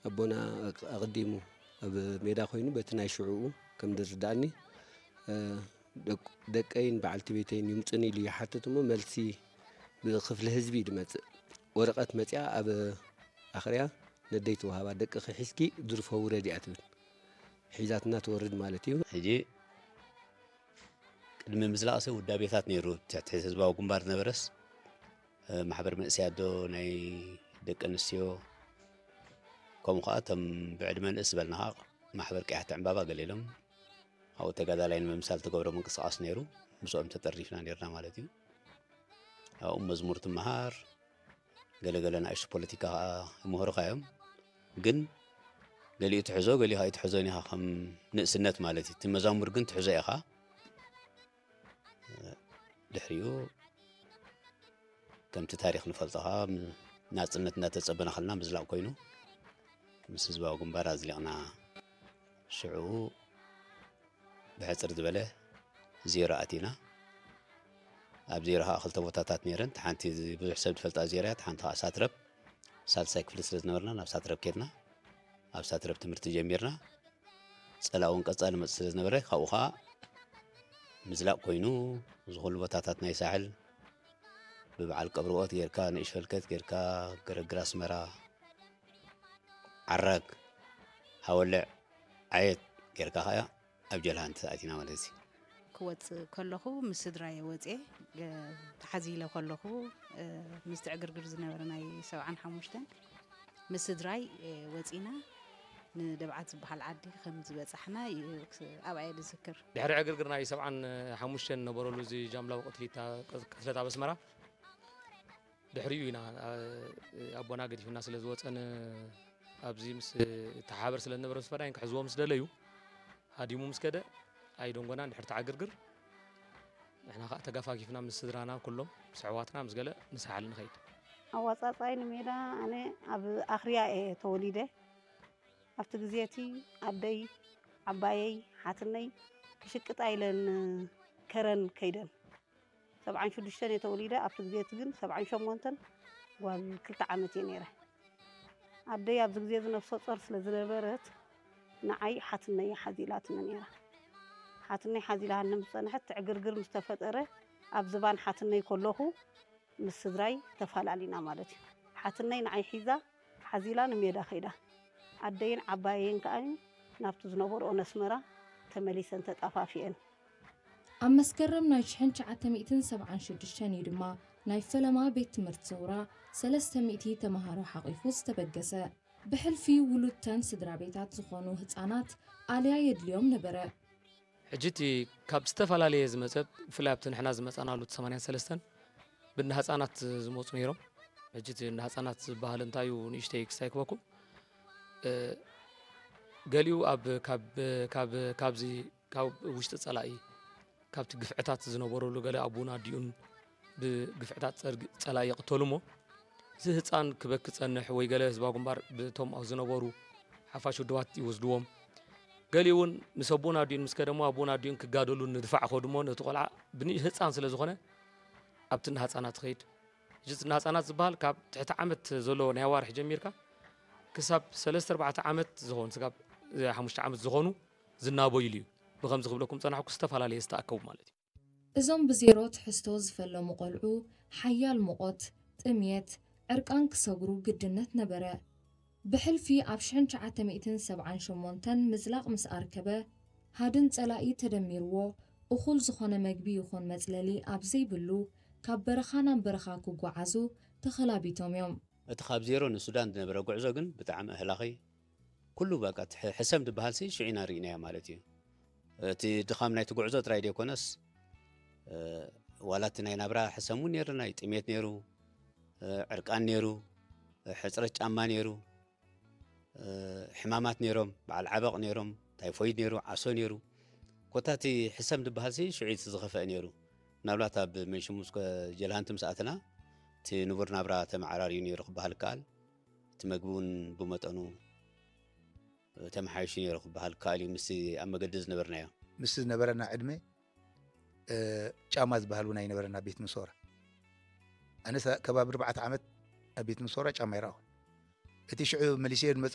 ኣቦና ኣቕ- ኣቕዲሙ ኣብ ሜዳ ኮይኑ በቲ ናይ ሽዕኡ ከም ዝርዳእኒ፣ እ፣ ደቅ- ደቀይን በዓልቲ ቤተይን ይምፁኒ ኢሉ ይሓትት እሞ፣ መልሲ ብክፍሊ ህዝቢ እዩ ዝመፅእ። ወረቐት መፅያ ኣብ ኣኽርያ ነደይ ትወሃባ፣ ደቅኺ ሒዝኪ ድርፎ ውረድ እያ ትብል። ሒዛትና ትወርድ ማለት እዩ። ሕጂ ቅድሚ ምዝላቕ ሰብ ውዳቤታት ነይሩ። ትሕቲ ህዝባዊ ግንባር ዝነበረስ፣ እ፣ ማሕበር መንእሰይ ኣዶ፣ ናይ ደቂ ኣንስትዮ፣ ከምኡ ከዓ እቶም ብዕድመ ንእስ ዝበልና ከዓ ማሕበር ቀያሕቲ ዕምባባ ገለ ኢሎም ኣብኡ ተጋዳላይ ንምምሳል ትገብሮ ምንቅስቃስ ነይሩ። ምስኦም ተጠርኒፍና ነይርና ማለት እዩ። ኣብኡ መዝሙር ትመሃር፣ ገለገለ ንኣሽቱ ፖለቲካ ከዓ ይምህሩኻ እዮም። ግን ገሊኡ ትሕዞ፣ ገሊኡ ከዓ ኣይትሕዞን ኢኻ፣ ከም ንእስነት ማለት እዩ። እቲ መዛሙር ግን ትሕዞ ኢኻ። ድሕሪኡ ከምቲ ታሪኽ ንፈልጦ ከዓ ም-፣ ናጽነት እናተጸበና ከለና ምዝላቕ ኮይኑ፣ ምስ ህዝባዊ ግንባር ኣዝሊቕና ሽዕኡ ብሕጽር ዝበለ ዜሮ ኣቲና። ኣብ ዜሮ ከዓ ክልተ ቦታታት ነይረን። እታ ሓንቲ ብዙሕ ሰብ ዝፈልጣ ዜሮ እያ፣ እታ ሓንቲ ከዓ ሳትረብ። ሳልሳይ ክፍሊ ስለ ዝነበርና ናብ ሳትረብ ከድና። ኣብ ሳትረብ ትምህርቲ ጀሚርና። ጸላእ እውን ቀጻሊ መጽእ ስለ ዝነበረ፣ ካብኡ ከዓ ምዝላቕ ኮይኑ፣ እዚ ኩሉ ቦታታት ናይ ሳሕል ብበዓል ቀብርኦት ጌርካ፣ ንእሽ ፈልከት ጌርካ፣ ገረግር ኣስመራ፣ ዓራግ፣ ሃወልዕ፣ ዓየት ጌርካ ከኣ ኣብ ጀልሃንት ኣቲና ማለት እዩ። ክወጽእ ከለኹ ምስ ስድራየ ወጽኤ፣ ገ-፣ ተሓዚለ ከለኹ፣ እ፣ ምስቲ ዕግርግር ዝነበረ ናይ ሰብዓን ሓሙሽተን ምስ ስድራይ፣ እ፣ ወጺና ንደብዓት ዝበሃል ዓዲ ከም ዝበጻሕና እዩ፣ ክ-፣ ኣብኣ እየ ዝዝክር። ድሕሪ ዕግርግር ናይ ሰብዓን ሓሙሽተን ነበረሉ እዚ ጃምላዊ ቅትሊታ-፣ ቅትለት ኣብ ኣስመራ፣ ድሕሪኡ ኢና፣ ኣ-፣ ኣቦና ገዲፉና ስለ ዝወጸን ኣብዚ ምስ ተሓባበር ስለ ዝነበረ ምስ ፈዳይን ክሕዝዎ ምስ ደለዩ፣ ሃዲሙ ምስ ከደ፣ ኣይደንጎናን ድሕሪ ተዓግርግር። ንሕና ኸኣ ተጋፋጊፍና ምስ ስድራና ኩሎም፣ ምስ ኣሕዋትና ምስ ገለ ንሳሕል ንኸይድ። ኣዋጻጻይ ንሜዳ ኣነ ኣብ ኣኽርያ እየ ተወሊደ። ኣብቲ ግዜ እቲ ኣደይ፣ ዓባየይ፣ ሓትነይ ክሽቅጣ ኢለን ከረን ከይደን። ሰብዓን ሽዱሽተን እየ ተወሊደ። ኣብቲ ግዜ እቲ ግን ሰብዓን ሸሞንተን ጓል ክልተ ዓመት እየ ነይረ። ኣደይ ኣብዚ ግዜ እዚ ነፍሰ ጾር ስለ ዝነበረት ንዓይ ሓትነይ ሓዚላትኒ ነይራ። ሓትነይ ሓዚላትኒ ምስ ጸንሐት እቲ ዕግርግር ምስ ተፈጠረ ኣብ ዝባን ሓትነይ ከለኹ ምስ ስድራይ ተፋላሊና ማለት እዩ። ሓትነይ ንዓይ ሒዛ ሓዚላ ንሜዳ ከይዳ። ኣደይን ዓባየይን ከኣ ናብቲ ዝነበርኦ ነስመራ ተመሊሰን ተጣፋፊአን። ኣብ መስከረም ናይ ሽሕን ትሽዓተ ሚእትን ሰብዓን ሽዱሽተን እዩ ድማ ናይ ፈለማ ቤት ትምህርቲ ሰውራ ሰለስተ ሚእቲ ተመሃሮ ሓቒፉ ዝተበገሰ። ብሕልፊ ውሉድተን ስድራ ቤታት ዝኾኑ ህጻናት ኣልያ የድልዮም ነበረ። ሕጂ እቲ ካብ ዝተፈላለየ ዝመጸ፣ ብፍላይ ኣብቲ ንሕና ዝመጻናሉ እቲ ሰማንያን ሰለስተን ብእንዳ ህጻናት ዝመጹ ነይሮም። ሕጂ እቲ እንዳ ህጻናት ዝበሃል እንታይ እዩ? ንእሽተይ ክስታይ ክበኩም። እ፣ ገሊኡ ኣብ፣ ካብ፣ ካብ፣ ካብዚ፣ ካብ ውሽጢ ጸላኢ፣ ካብቲ ግፍዕታት ዝነበረሉ፣ ገለ ኣቡን ኣዲኡን ብግፍዕታት ጸርግ-፣ ጸላኢ ይቕተሉ እሞ፣ እዚ ህጻን ክበኪ ጸንሕ ወይ ገለ ህዝባዊ ግንባር ብቶም ኣብ ዝነበሩ ሓፋሽ ውድባት ይወስድዎም። ገሊኡ እውን ምስ ኣቦን ኣዲኡን ምስ ከደሞ፣ ኣቦን ኣዲኡን ክጋደሉ ንድፋዕ ከድሞ፣ ነቲ ቆልዓ ብንእሽ ህጻን ስለ ዝኾነ ኣብቲ እንዳ ህጻናት ትኸይድ። ሕጂ እቲ እንዳ ህጻናት ዝበሃል ካብ ትሕቲ ዓመት ዘሎ ናይ ኣዋርሕ ጀሚርካ ክሳብ ሰለስተ ኣርባዕተ ዓመት ዝኾኑ፣ ስጋብ ሓሙሽተ ዓመት ዝኾኑ ዝናበይሉ እዩ። ብኸምዚ ክብለኩም ጸናሕኩ፣ ዝተፈላለየ ዝተኣከቡ ማለት እዩ። እዞም ብዜሮ ትሕዝቶ ዝፈለሙ ቆልዑ፣ ሓያል ሙቐት፣ ጥምየት፣ ዕርቃን ክሰግሩ ግድነት ነበረ። ብሕልፊ ኣብ ሽሕን ትሽዓተ ሚእትን ሰብዓን ሸሞንተን ምዝላቕ ምስ ኣርከበ፣ ሃድን ጸላኢ ተደሚርዎ፣ እኹል ዝኾነ መግቢ ይኹን መጽለሊ ኣብ ዘይብሉ፣ ካብ በረኻ ናብ በረኻ ክጓዓዙ ተኸላቢቶም እዮም። እቲ ካብ ዜሮ ንሱዳን ዝነበረ ጉዕዞ ግን ብጣዕሚ ኣህላኺ፣ ኩሉ በቃ እቲ ሕ-፣ ሕሰም ዝበሃል ሲ ሽዑ ኢና ርኢናዮ ማለት እዩ። እቲ ድኻም ናይቲ ጉዕዞ ጥራይ ዘይኮነስ፣ እ፣ ዋላ እቲ ናይ ናብራ ሕሰም እውን ነይሩ፣ ናይ ጥሜት ነይሩ፣ እ፣ ዕርቃን ነይሩ፣ እ፣ ሕጽረት ጫማ ነይሩ፣ እ፣ ሕማማት ነይሮም፣ በዓል ዓበቕ ነይሮም፣ ታይፎይድ ነይሩ፣ ዓሶ ነይሩ። ኮታ እቲ ሕሰም ዝበሃል ሲ ሽዑ እቲ ዝኸፍአ ነይሩ። ምናልባት ኣብ መንሽሙስ ከ-፣ ጀልሃንቲ ምስ ኣተና፣ እቲ ንቡር ናብራ ተመዓራርዩ ነይሩ ክበሃል ይከኣል። እቲ መግቢ እውን ብመጠኑ ተመሓይሹ ነይሩ ክበሃል ይከኣል እዩ፣ ምስቲ ኣብ መገዲ ዝነበርናዮ። ምስቲ ዝነበረና ዕድመ፣ እ፣ ጫማ ዝበሃል እውን ኣይነበረና ቤት ምሶራ። ኣነስ ከባቢ ኣርባዕተ ዓመት ኣብ ቤት ምሶራ ጫማ ኣይረኣኹን። እቲ ሽዑ መሊሰዮ ዝመጽእ